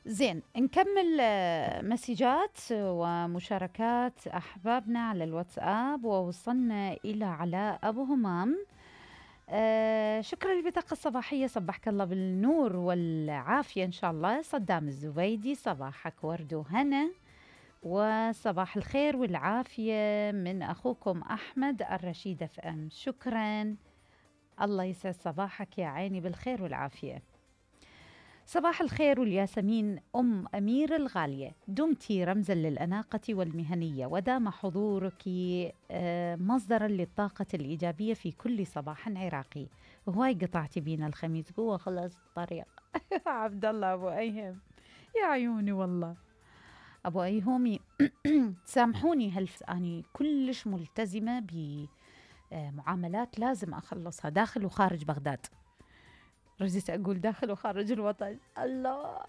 زين نكمل مسجات ومشاركات أحبابنا على الواتساب. ووصلنا إلى علاء أبو همام. شكرا للبطاقة الصباحية، صبحك الله بالنور والعافية إن شاء الله. صدام الزبيدي، صباحك ورد وهنا وصباح الخير والعافية من أخوكم أحمد الرشيد اف ام. شكرا، الله يسعد صباحك يا عيني بالخير والعافية. صباح الخير والياسمين أم أمير الغالية، دمتي رمزا للأناقة والمهنية، ودام حضورك مصدرا للطاقة الإيجابية في كل صباح عراقي. وهاي قطعتي بينا الخميس قوة خلص الطريق. عبد الله أبو أيهم، يا عيوني والله أبو أيهومي. سامحوني أني كلش ملتزمة بمعاملات لازم أخلصها داخل وخارج بغداد. رجيت أقول داخل وخارج الوطن، الله